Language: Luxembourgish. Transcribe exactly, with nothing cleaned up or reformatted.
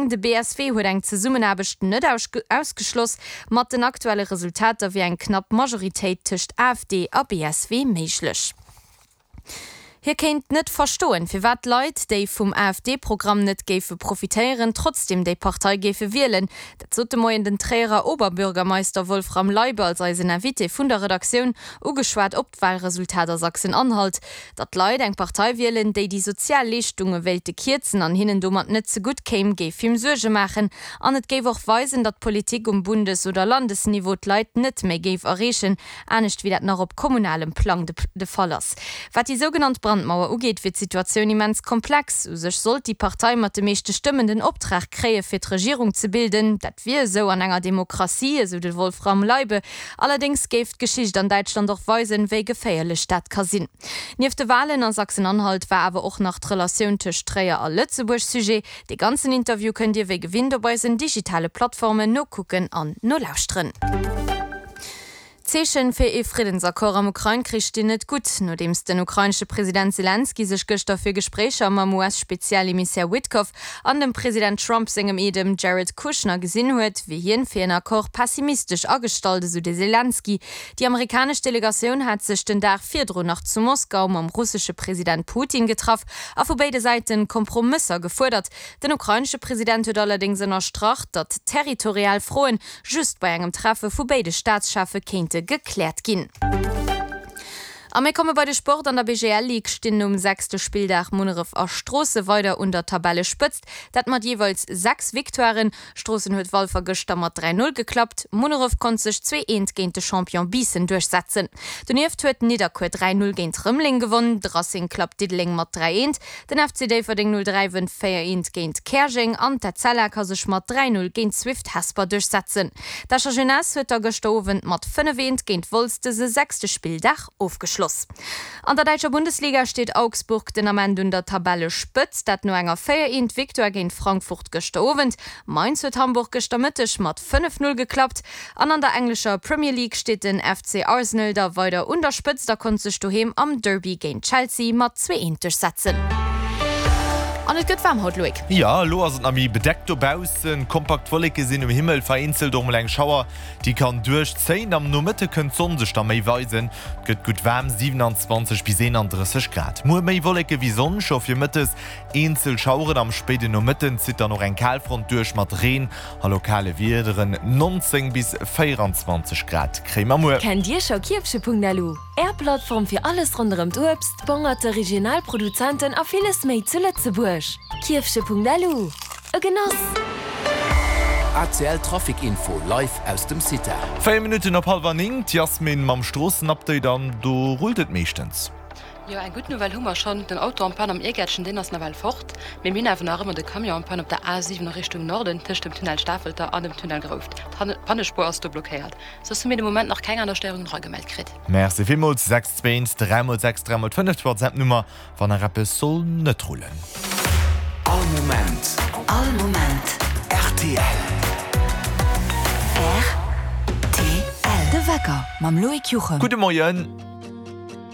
Gréng. De B S W huet eng Zesummenaarbecht net ausgeschloss. Mat den aktuelle Resultater wier eng knapp Majoritéit tëscht A F D a B S W méiglech. Hie kéint net verstoen, firwat Leit, déi vum A F D-Programm net géife profitéieren, trotzdeem déi Partei géife wielen. Dat sot de Moien den Tréierer Oberbürgermeister Wolfram Leibe als eisen Invité vun der Redaktioun, ugeschwat op d'Walresultat a Sachsen-Anhalt. Datt Leit eng Partei wielen, déi déi sozial Leeschtunge wéilte kierzen an hinnen domat net zegutt kéim, géif him Suerge maachen. An et géif och weisen, datt d'Politik um Bundes oder Landesniveau d'Leit net méi géif erreechen, anescht wéi dat nach op kommunalem Plang de Fall ass. Wat déi sougenannt Brandmauer ugeet, wier d'Situatioun immens komplex. U sech sollt déi Partei mat de meeschte Stëmmen den Optrag kréie fir d'Regierung ze bilden. Dat wier esou an enger Demokratie, esou de Wolfram Leibe. Allerdéngs géif d'Geschicht an Däitschland och weisen, wéi geféierlech dat ka sinn. Nieft de Walen a Sachsen-Anhalt war awer och nach d'Relatioun tëscht Tréier a Lëtzebuerg Sujet. De ganzen Interview kënnt Dir wéi gewinnt op eisen digitale Plattformen nokucken an nolauschteren. D'Zeeche fir ee Friddensaccord am Ukrain-Krich stinn net gutt. Nodeems den ukrainesche President Selenskyj sech gëschter fir Gespréicher mam U S-Spezialemissär Witkoff an dem President Trump sengem Eedem Jared Kushner gesinn huet, wier hien fir en Accord pessimistesch agestallt, esou de Selenskyj. Déi amerikanesch Delegatioun hat sech den Dag virdrun nach zu Moskau mam russesche President Putin getraff a vu béide Säite Kompromësser gefuerdert. Den ukrainesche President huet allerdéngs ënnerstrach, datt territorial Froen just bei engem Treffe vu béide Staatscheffe kéinte gekläert ginn. A mir komme bei de Sport. An der B G L Ligue stinn um sechste Spilldag Munneref a Stroossen weider un der Tabellespëtzt, dat mat jeeweils sechs Victoiren. Stroossen huet Walfer gëschter mat dräi Null geklappt, Munneref konnt sech zwee eent géint de Champion Biissen duerchsetzen. Donieft huet Nidderkuer dräi Null géint Rëmeleng gewonnen, de Racing klappt Diddeleng mat dräi eent, den F C Déifferdeng null dräi wënnt véier eent géint Käerjeng an d'Etzella ka sech mat dräi Null géint Swift Hesper duerchsetzen. D'Escher Jeunesse huet da gëschter Owend mat fënnef eent géint Wolz dëse sechste Spilldag ofgeschloss. An der däitscher Bundesliga steet Augsburg den Ament un der Tabellespëtzt, dat no enger véier eent Victoire géint Frankfurt gëschter Owend. Mainz huet Hamburg gëschter Mëtteg mat fënnef Null geklappt. An an der englescher Premier League steet den F C Arsenal da weider un der Spëtzt a konnt sech doheem am Derby géint Chelsea mat zwee eent duerchsetzen. An et gëtt waarm haut, Loïc. Jo, elo ass et nach méi bedeckt dobaussen, kompakt Wolleke sinn um Himmel, vereenzelt och mol eng Schauer, déi kann duerchzéien. Am Nomëtte kënnt d'Sonn sech da méi weisen, et gëtt gutt waarm, siewenanzwanzeg bis eenandrësseg Grad. Muer méi Wolleke wéi Sonn, scho virmëttes eenzel Schaueren. Am spéiden Nomëtten zitt dann och eng Kalfront duerch mat Reen a lokale Wiederen, nonzéng bis véieranzwanzeg Grad kréie mer muer. Kennt Dir scho Kierfche Punkt L U? Är Plattform fir alles ronderëm d'Uebst, Bongerte, regional Produzenten a villes méi zu Lëtzebuerg. Kierfche Punkt L U. E Genoss! A C L Trafic Info live aus dem Cita. Véier Minutten op hallwer néng, d'Yasmin mam Stroossenupdate an do rullt et meeschtens. Jo, eng gutt Nouvelle hu mer schonn, den Auto en panne am Iergäertchen, deen ass nawell fort. Mee mir hunn awer nach ëmmer de Camion en panne op der A siwen a Richtung Norden tëscht dem Tunnel Stafelter an dem Tunnel Grouft. D'Pannespuer ass do blockéiert. Soss hu mir de Moment nach keng aner Stéierungen eragemellt kritt. Merci villmools. sechs zwee eent dräi mol sechs dräi mol fënnef, d'WhatsApp-Nummer, wann nach eppes soll net rullen. All Moment. All Moment. R T L. R T L. De Wecker mam Loïc Juchem. Gudde Moien.